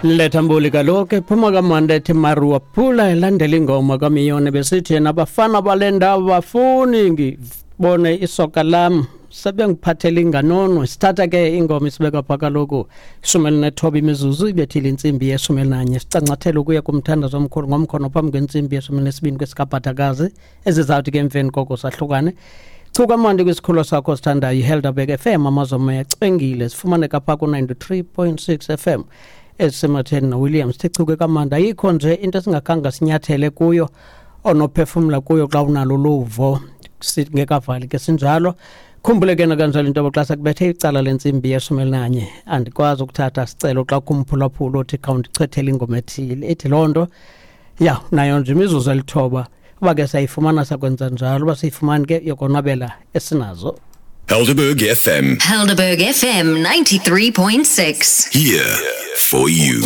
Letha mbuli kaloku ephuma kamandi ethi Maruapula elandela ingoma kaMiyone besithi yena abafana bale ndawo bafuni ngibone isoka lam sebengiphathela inganono. Sithatha ke ingoma isibeka pha kaloku 19 imizuzu ibethile intsimbi ye-11, sicancathele ukuya kumthandazo omkhulu ngomkhono phambi kwentsimbi ye-12 kwesikabhadakazi ezizawuthi ke emveni koko sahlukane. Chuka mandi kwisikhululo sakho sithandayo iHelderberg FM, amazomo yacwengile, sifumaneka pha ku-93.6 FM ezisematheni noWilliams. Sichuke kamandi, ayikho nje into esingakhange sinyathele kuyo onophefumla kuyo xa unalo luvo singekavali ke sinjalo. Khumbule ke nakanjalo into yoba xa sekubethe icala lentsimbi ye-11 andikwazi ukuthatha sicelo xa kumphulaphula othi khawundichethele ingoma ethile, ithi loo nto ya nayo nje imizuzu 9. Uba ke sayifumana sakwenza njalo, uba siyifumani ke yokonwabela esinazo. Helderberg FM. Helderberg FM 93.6. Here for you.